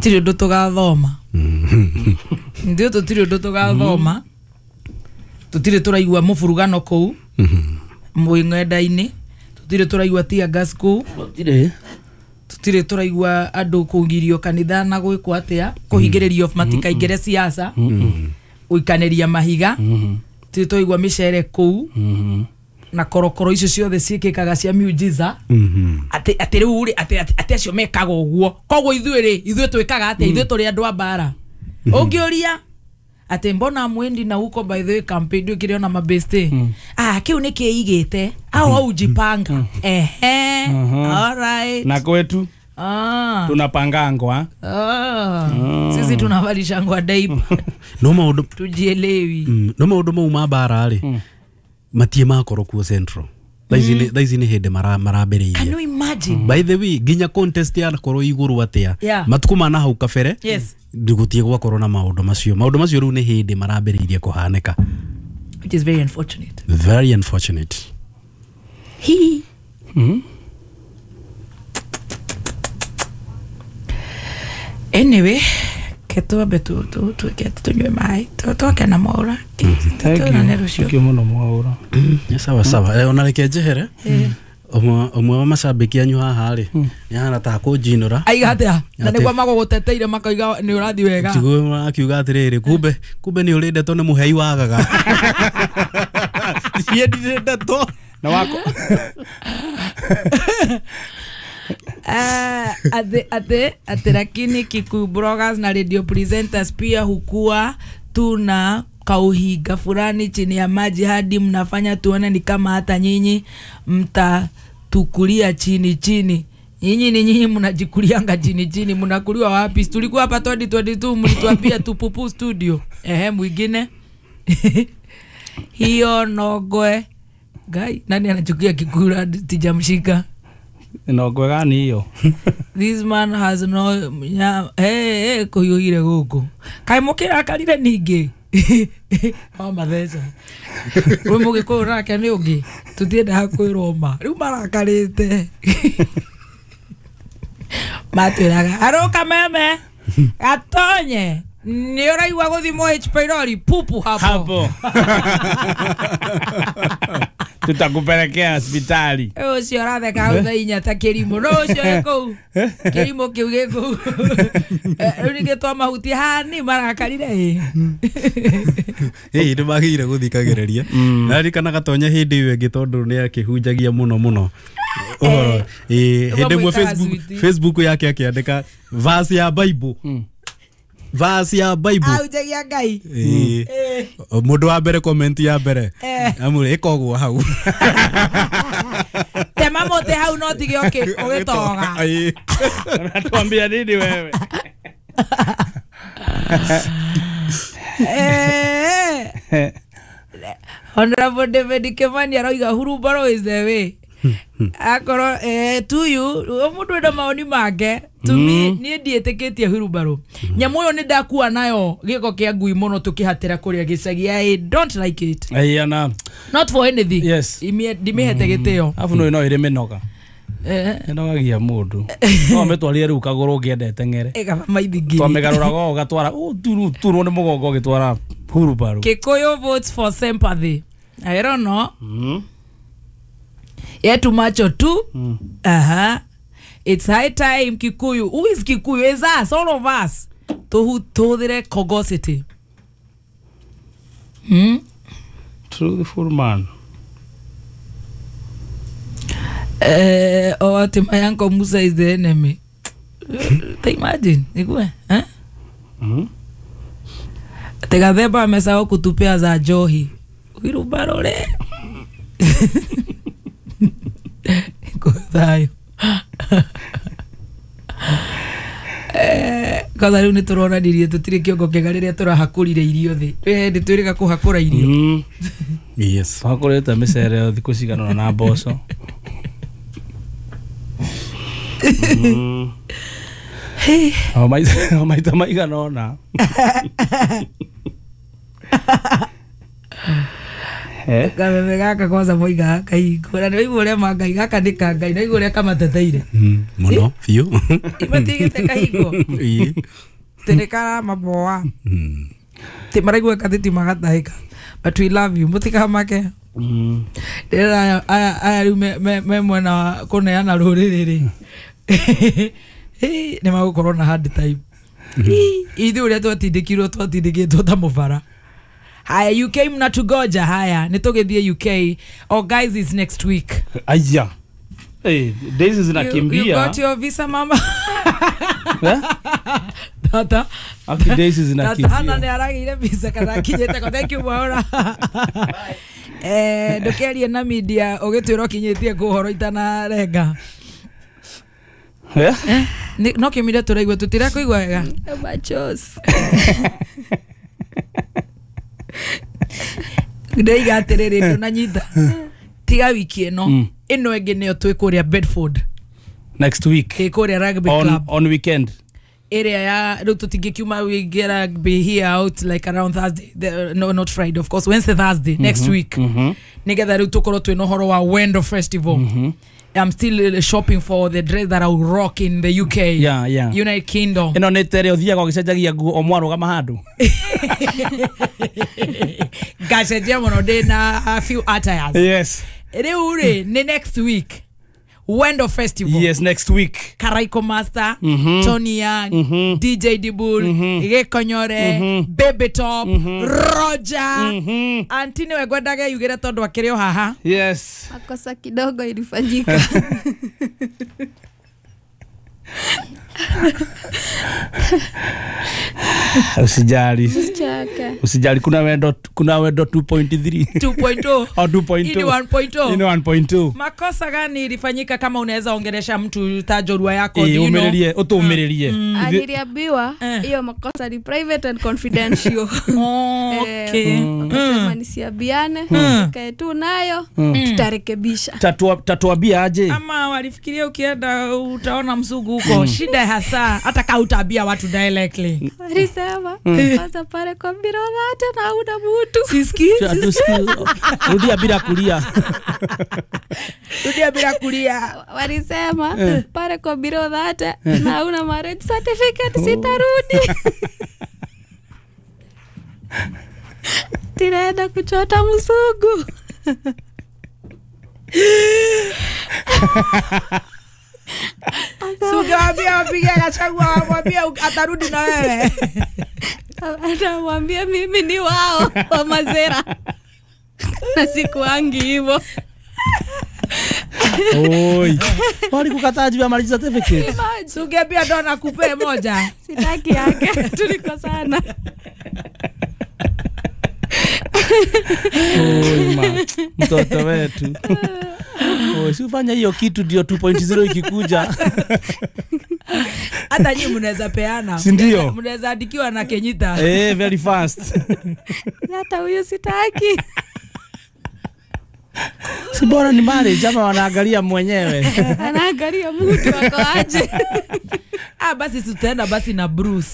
Tũtirĩ ũndũ tũgathoma. Ndio tũtirĩ ũndũ tũgathoma. Tũtirĩ tũraigua mũburugano kũu. Mwĩ ng'enda-inĩ. Tũtirĩ tũraigua tear gas kũu. Gũtirĩ. Tũtirĩ tũraigua andũ kũgirio kanitha na gwĩkwo atĩa, kũhingĩrĩrio matikaingĩre siasa, gũikanĩria mahiga. Tũtirĩ tũraigua mĩcere kũu. Na korokoro icio ciothe ciĩkĩkaga cia miujiza. Atĩ atĩ rĩu rĩ atĩ acio mekaga ũguo. Koguo ithuĩ rĩ, ithuĩ twĩkaga atĩa? Ithuĩ tũrĩ andũ a mbara. Ũngĩũria atĩ mbona mwendi na huko, by the way campaign ndwĩkĩre ona mabeste. Ah, kĩu nĩ kĩigĩte au haujipanga. Ehe, all right. Na kwetu Ah. tunapangangwa. Ah. Sisi tunavalishangwa diaper. No maũndũ Tujielewi. No maũndũ mau ma mbara rĩ matie makorwo kuo Central. Thaa ici nĩ hĩndĩ marambĩrĩirie. Can you imagine? By the way, nginya contest yanakorwo igũrũ atĩa matukũ ma nahau kabere gũtiĩ gwakorwo na maũndũ macio. Maũndũ macio rĩu nĩ hĩndĩ marambĩrĩirie kũhanĩka. Which is very unfortunate. Very unfortunate. He. Anyway, ke twambe tuike tunywe maĩ, twoke na Mwaura. Tuonane rũciũ. Thank you mũno Mwaura. Nĩ sawa sawa. Ona reke njehere. Ũmwe wa macambĩki anyu haha rĩ nĩ ahana ta kũnjinũra. Aiga atĩa? Na nĩguo magũgũteteire makoiga nĩ ũrathiĩ wega. Tiguo akiuga atĩrĩrĩ, kumbe nĩ ũrĩ ndeto nĩ mũhei wagaga. Niĩ ndirĩ ndeto. Na wako. Ate lakini Kikuyu bloggers na radio presenters pia hukua tuna kauhiga fulani chini ya maji hadi mnafanya tuone ni kama hata nyinyi mtatukulia chini chini. Nyinyi ni nyinyi mnajikulianga chini chini, mnakuliwa wapi? Tulikuwa hapa 2022 mlituambia tupupu studio. Ehe, mwingine. Hiyo nogwe. Guy, nani anachukia Kikuyu tijamshika? Nogwe gani hiyo? This man has no hey kuyuhire guku. Kai mukirakarire ningi. O matheca. We mugikuyu nake ni ungi. Tutiendaga kwirwo ma. Riu marakarite. Matwiraga aroka meme gatonye. Ni ũraigua gũthimwo H pylori pupu hapo. Hapo. Tutakupelekea hospitali. Ũcio ũratheka hau thaa inya ta kĩrimũ. No ũcio wĩ kũu. Kĩrimũ kĩu gĩ kũu. Rĩu ningĩ twamahutia hani marakarire ĩ. Ĩ nĩ magĩrĩire gũthikagĩrĩria. Naririkana Gatonya hĩndĩ ĩyo ĩngĩ tondũ nĩ akĩhunjagia mũno mũno. Ũhoro. Ĩ hĩndĩ ĩmwe Facebook yake akĩandĩka verse ya Bible. Verse ya Bible. Ahunjagia Ngai. Mũndũ wa mbere comment ya mbere. Amũre ĩkogwo hau. Tema mũtĩ hau no tige ũgĩtoga. Unatuambia nini wewe? Honorable David Kimani aroiga hurubaro is the way. Akorwo to you mũndũ enda maoni make. To me niĩ ndiĩtĩkĩtie hurubaro. Nyamũ ĩyo nĩ ndakua nayo gĩko kĩa ngui mũno tũkĩhatĩra kũrĩa gĩcagi. I don't like it. Aiana. Not for anything. Yes. Ndimĩhete gĩtĩo. Afu no ĩrĩ mĩnoga. Ĩnogagia mũndũ. No mĩtwarire rĩu kagũrũ ũngĩendete ng'ere. Ĩkaba maithingiri. Twamĩgarũraga ũgatwara turwo nĩ mũgongo ũgĩtwara hurubaro. Kikuyu votes for sympathy. I don't know. Yetu macho tu. Aha. It's high time Kikuyu. Who is Kikuyu? It's us, all of us. Tuhudhire Kogosity. Truthful man. Oh, my uncle Musa is the enemy. Imagine. Ikue, eh? Tegatheba amesahau kutupea za Johi. Wirubarore. Thayo. Kwanza rĩu nĩ tũronanirie tũtirĩ kĩongo kĩega rĩrĩa tũrahakũrire irio thĩ. Twĩ hĩndĩ twĩrĩga kũhakũra irio. Yes. Twahakũrĩte mĩcere thikũ cigana ũna na mboco. O maita maigana ũna. Kameme gaka kwanza moiga kahingo na nĩwaigua ũrĩa mangai gaka nĩ ka Ngai na igua ũrĩa kamateteire Mũno biũ. Imatigĩte kahingo tene karamaboa ti maraigua kathitima gatahĩka, but we love you, mũtikamake. Ndĩrera aya rĩu me mwena wa kũneana rũrĩrĩ rĩ nĩ magũkorwo na hard time. Ithuĩ ũrĩa twatindĩkirwo twatindĩkĩtwo ta mũbara. Haya, UK mnatugoja. Haya, nitũgĩthiĩ UK. Oh guys, it's next week. Aya. Hey, days zinakimbia. You got your visa mama? Tata. Aki days zinakimbia. Tata hana nĩ aragĩire visa kana akinyĩte ko. Thank you Mwaura. Ndũkerie na media ũgĩtwĩra ũkinyĩtie kũ ũhoro itanarenga. No kĩmire tũraigua tũtirakũigua wega. Machos. Ndaiga atĩrĩrĩ ndũnanyita tiga wiki ĩno ĩno ĩngĩ nĩyo twĩ kũrĩa Bedford next week ĩ kũrĩa rugby club on weekend area ya rĩu tũtingĩkiuma we get rugby here out like around Thursday no not Friday of course, Wednesday Thursday next week nĩgetha rĩu tũkorwo twĩna ũhoro wa Wendo Festival. I'm still shopping for the dress that I will rock in the UK. Yeah, yeah. United Kingdom. Ĩno nĩ tere ũthiaga ũgĩcenjagia nguo o mwarũgama handũ. Ngacenjia mũno ndĩ na a few attires. Yes. Rĩu rĩ nĩ next week. Wendo Festival. Yes, next week. Karaiko Master, Tony Young, DJ Dibul, Gĩkonyore, Baby Top, Roger. Auntie niwe ngwendaga yugire tondũ akĩrĩ o haha. Yes. Makosa kidogo ilifanyika. Usijali. Usijali, kuna wendo 2.3. 2.0. Au 2.2. Ini 1.0. Ini 1.2. Makosa gani ilifanyika kama unaweza ongelesha mtu tajorua yako? Umererie, utuumererie. Niliambiwa hiyo makosa ni private and confidential. Okay. Akasema nisiambiane, kae tu nayo, tutarekebisha. Tatuambia aje? Ama walifikiria ukienda utaona msugu huko. Shida hasa hata kama utaambia watu directly. Alisema kwanza pale kwa birona hata na una mtu. Sisikii. Rudia bila kulia. Rudia bila kulia. Walisema pale kwa birona hata na una marriage certificate sitarudi. Tinaenda kuchota msugu. Sugawambia wapige Gachagua wamwambia atarudi na wewe. Anamwambia mimi ni wao wa mazera. Na sikuangi hivyo. Oi. Walikukataa juu ya marriage certificate. Sugawambia ndo nakupe moja. Sitaki yake. Tulikosana. Oi ma, mtoto wetu. Oh, si ufanya hiyo kitu ndio 2.0 ikikuja. Hata nyinyi mnaweza peana. Si ndio? Mnaweza andikiwa na Kenyita. Very fast. Hata huyo sitaki. Si bora ni marriage ama wanaangalia mwenyewe. Anaangalia mtu wako aje. Basi tutaenda basi na Bruce.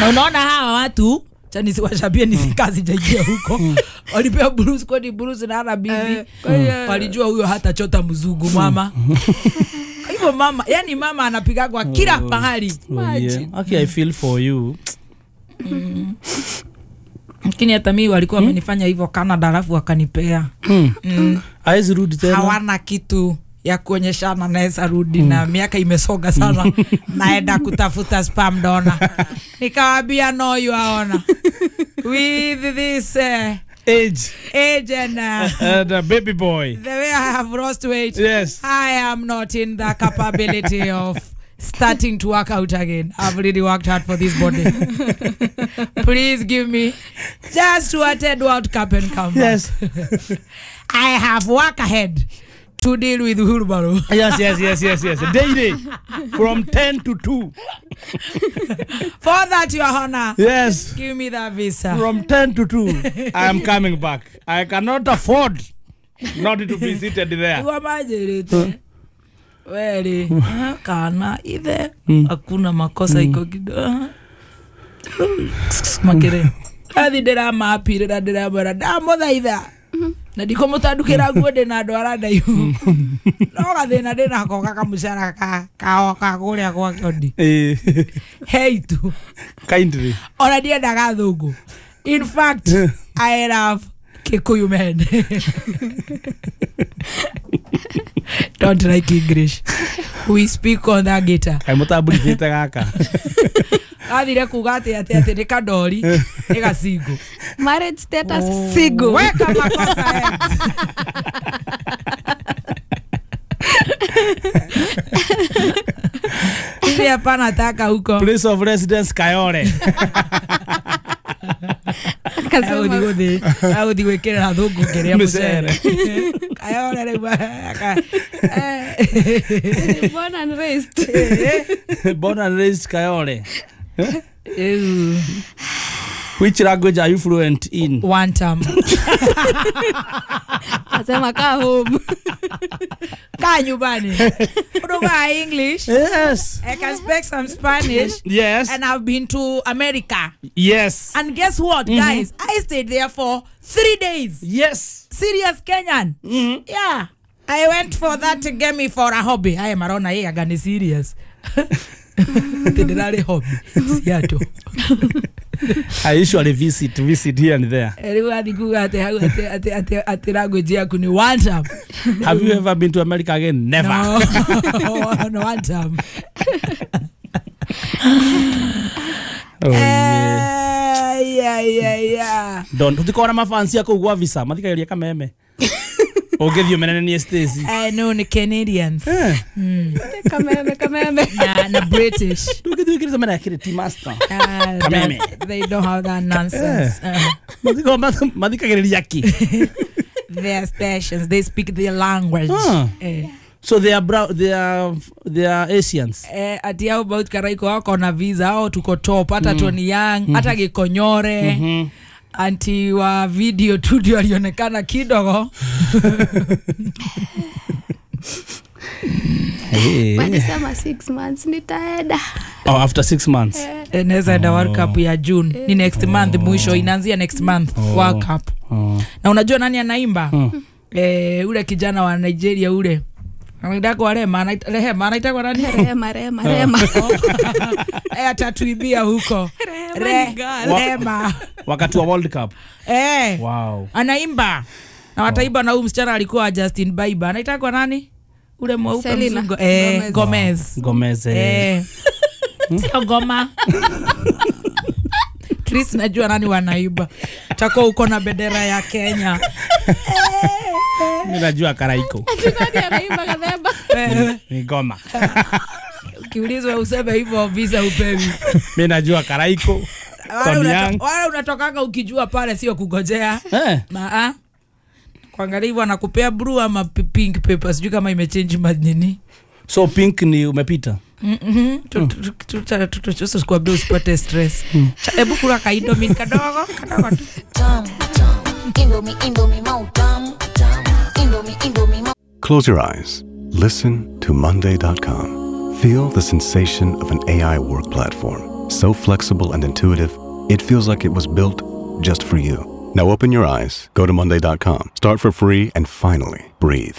Na unaona hawa watu nisiwashabie nisikazi jaingia huko. Walipea Bruce kwani Bruce na ana bibi. Walijua huyo hata chota mzungu mama. Hivyo mama, yani mama anapigagwa kila pahali. Yeah. Okay, I feel for you. Lakini hata mimi walikuwa wamenifanya hivyo Canada alafu wakanipea. Haizi rudi tena. Hawana kitu ya kuonyeshana naweza rudi na miaka imesonga sana. Naenda kutafuta spam donor. Nikawaambia no you are honor. With this age and the baby boy. The way I have lost weight. Yes. I am not in the capability of starting to work out again. I've really worked hard for this body. Please give me just to attend World Cup and come back. Yes. I have work ahead to deal with wheelbarrow. Yes. Daily from 10 to 2. For that, Your Honor. Yes. Give me that visa. From 10 to 2, I am coming back. I cannot afford not to be seated there. Weli, kana ithe hakuna makosa iko kidogo. Makere. Athi ndĩramapirĩra ndĩramwĩra ndamũthaitha na ndikũmũtandukĩra nguo ndĩna andũ arĩa ndaihu no gathĩna ndĩnako gakamũcara ka kũrĩa gwa Kĩondi hei tu kindly ona ndiendaga athũngũ. In fact, I love Kikuyu men. Don't like English. We speak on that guitar. Kaĩ mũtamburithĩte gaka. Athire kuga atĩ atĩ atĩ nĩ kandori nĩ gacingo. Marriage status single. Weka makosa X. Mimi hapana taka huko. Place of residence Kayole. Agũthiĩ gwĩkĩrĩra thũngũ kĩrĩa mũcere. Kayole rĩu Born and raised. Born and raised Kayole. Which language are you fluent in? One term. Asema kaa home. Kaa nyumbani. Unaongea English. Yes. I can speak some Spanish. Yes. And I've been to America. Yes. And guess what, guys? I stayed there for 3 days. Yes. Serious Kenyan. Yeah. I went for that game for a hobby. I am arona yeye agani serious. Ndinarĩ hobby. Seattle. I usually visit here and there. Rĩu athi kuga atĩ hau atĩ language yaku ni one time. Have you ever been to America again? Never. No, no one time. Oh, yeah. Yeah. Don't tutikora mafansi yako gwa visa mathikageria kameme. Ũngĩthiĩ ũmenene nĩ Stacy. I know ni Canadians. Kameme. Na British. Ndũngĩthiĩ wĩkĩrĩte mena kĩrĩ tea master. Kameme. They don't have that nonsense. Mathikagĩrĩria kĩ? Their stations, they speak their language. So they are brown, they are Asians. Ati hao about Karaiko wako na visa hao tuko top hata Tony Young hata Gikonyore. Anti wa video tu ndio alionekana kidogo. Walisema 6 months nitaenda. Oh, after 6 months. Naweza enda World Cup ya June. Ni next month mwisho, inaanzia next month World Cup. Na unajua nani anaimba? Ule kijana wa Nigeria ule. Anaitwa Rema, Rehema, anaitwa nani? Rema. Atatuibia huko. Rema. Wakati wa World Cup. Wow. Anaimba. Na wataimba na huyu msichana alikuwa Justin Bieber. Anaitwa nani? Ule mweupe mzungu. Gomez. Gomez. Sio Goma. Chris najua nani wanaiba. Takuwa uko na bendera ya Kenya. Mimi najua Karaiko. Nani anaimba kadheba? Ni Goma. Ukiulizwa useme hivyo visa upewi. Mimi najua Karaiko. Wala unatokanga ukijua pale sio kugojea. Maa. Kuangalia hivyo anakupea blue ama pink paper. Sijui kama imechange nini. So pink ni umepita. Tusikwambie usipate stress. Hebu kula kaindomie kadogo kadogo tu. Close your eyes. Listen to Monday.com. Feel the sensation of an AI work platform. So flexible and intuitive, it feels like it was built just for you. Now open your eyes, go to Monday.com, start for free, and finally breathe.